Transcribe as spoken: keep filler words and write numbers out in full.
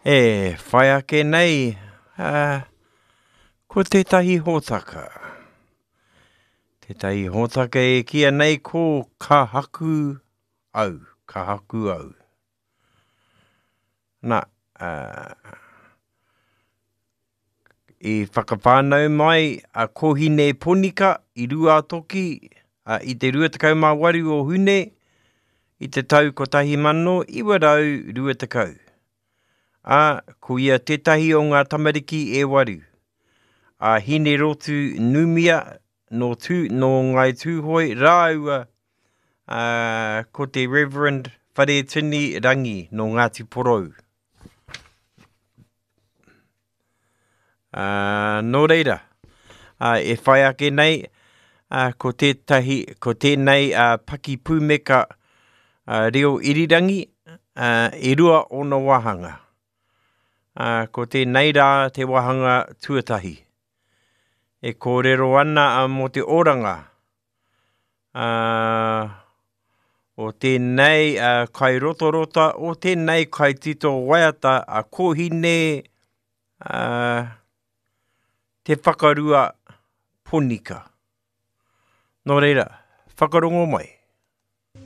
E whai ake nei, uh, ko tētahi hōtaka. Tētahi hōtaka e kīia nei ko Ka Haku Au, Ka Haku Au. Nā, uh, i whakawhānau mai a Kohine Ponika i Ruatoki uh, i te rua tekau mā waru o Hune i te tau kotahi mano iwa rau rua tekau. Ā, ko ia tētahi o ngā tamariki e waru. A Hinerotu Numia nō, tū, nō Ngāi Tūhoe rāua ā, ko te Reverend Wharetini Rangi nō Ngāti Porou. Ā, nō reira, ā, e whai ake nei, ā, ko tētahi, ko tēnei ā, paki pūmeka ā, reo irirangi, ā, e rua ōna wāhanga. Ā, ko tēnei rā te wāhanga tuatahi. E kōrero ana ā, mō te oranga ā, o tēnei ā, kairotorota, o tēnei kaitito waiata a Kohine ā, Te Whakarua Ponika. Nō reira, whakarongo mai.